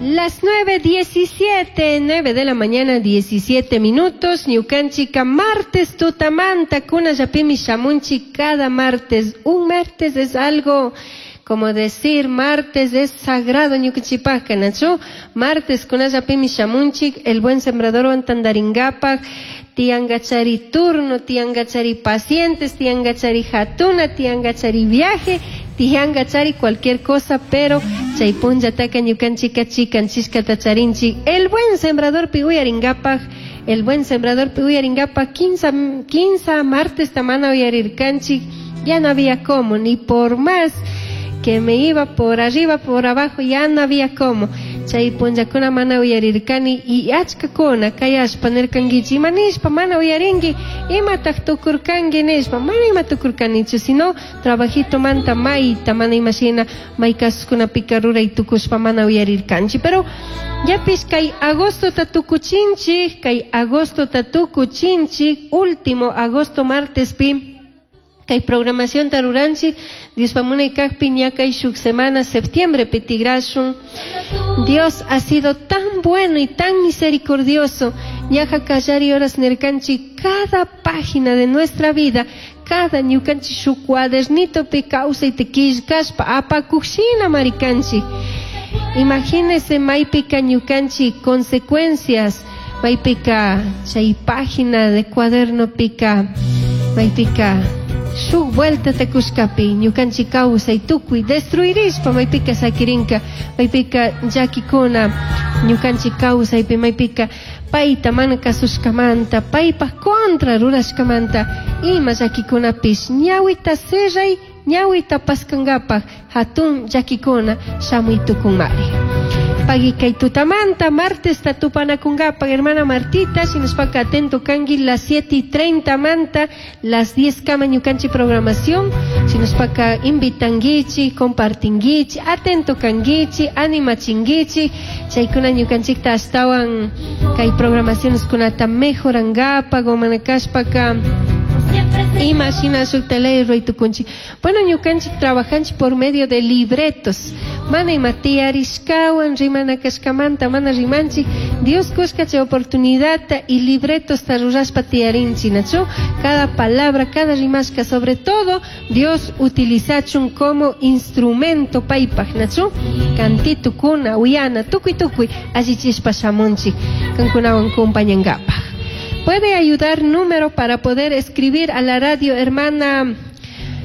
Las 9:17, 9 de la mañana, 17 minutos. Ñukanchika martes tutamanta, kunallapimi shamunchik cada martes. Un martes es algo como decir martes es sagrado ñukanchikpajka, nachu? Martes kunallapimi shamunchik, el buen sembrador tantaringapaj, tiangachari turno, tiangachari pacientes, tiangachari jatuna, tiangachari viaje, tiangachari cualquier cosa, pero chay punllataka ñukanchika chikanchishkata charinchik. El buen sembrador pi uyaringapaj, el buen sembrador pi uyaringapaj, 15 martes tamana uyarirkanchik, ya no había cómo, ni por más que me iba por arriba, por abajo, ya no había cómo. Chay punllakuna mana uyarirkani y achkakuna kayashpa nirkankichik, ima nishpa mana uyarinki, imataj tukurkanki nishpa, mana ima tukurkanichu, sino trabajito manta mayta, mana imashina may kasuskunapika ruray tukushpa mana uyarirkanchik. Pero yapish kay agostota tukuchinchik, kay agostota tukuchinchik, último agosto martespi, kay programación ruranchik, Dios munay kajpi ña kay shuk semana septiembre tigrashun. Dios ha sido tan bueno y tan misericordioso. Ñaja kallari horas nirkanchik cada página de nuestra vida, cada ñukanchik shuk cuadernito pi kawsayta killkashpa apakushina marikanchik. Imagínese maypika ñukanchik consecuencias, maypika chay página de cuaderno pika, maypika shuk vuelta kushkapi ñukanchik kawsay tukuy destruirishpa maypika sakirinka, maypika llakikuna ñukanchik kawsaypi maypika payta mana kasushkamanta, paypaj contra rurashkamanta ima llakikunapish ñawita cerray, ñawita paskangapak hatun llakikuna shamuy tukunmari. Pagui kay tutamanta, martes tupanakungapak, hermana Martita, shinashpaka atento kanki las 7:30 manta, las 10 kama ñukanchik programación, shinashpaka invitanguichi, compartinguichi, atento kanguichi, animachinguichi, chaykuna ñukanchikta ashtawan kay programaciones kunata mejorangapak, o manakashpaka ima shina shukta ley ruray tukunchik. Bueno, ñukanchik trabajanchik por medio de libretos. Mana ima tiyarishkawan rimana kashkamanta mana rimanchik, Dios kushka chay oportunidad y libretos ta rurashpa tiyarinchik, nachu? Cada palabra, cada rimashka, sobre todo Dios utilizachun como instrumento paypaj, nachu? Cantito kuna, uyana, tukuy tukuy, allichishpa shamunchik, kankunawan kumpañangapaj. Puede ayudar número para poder escribir a la radio, hermana,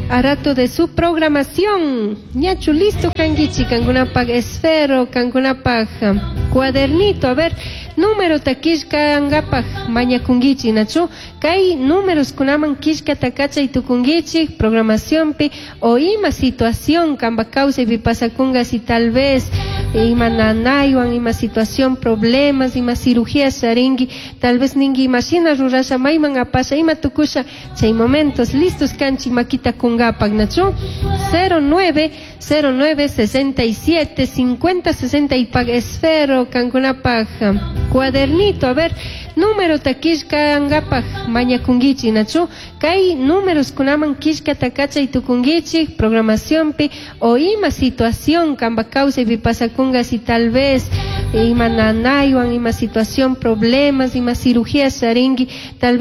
a rato de su programación. Ñachu, listo, kanguichi, kankunapaj esfero, kankunapaj cuadernito. A ver, número takishka mañakunguichi, nachu. Kay números kunaman kishka takachay tukunguichi, programación pi, o ima situación, kamba causa y pasakunga si tal vez ima nanaywan, ima situación, problemas, ima cirugía sharingui, tal vez ningui imashina rurasha, mayman apasha, ima tukusha, chay momentos listos kanchi makita kungapak, nachu? 09, 09, 67, 50, 60 y pag esfero, kankunapaj cuadernito, a ver, número takishka angapaj mañakunguichi, nachu? Kay números kunaman kishka takachay tukunguichi, programación pi, o ima situación, kamba causa y pasakunga si tal vez ima nanaywan, ima situación, problemas, ima cirugía sharingui, tal vez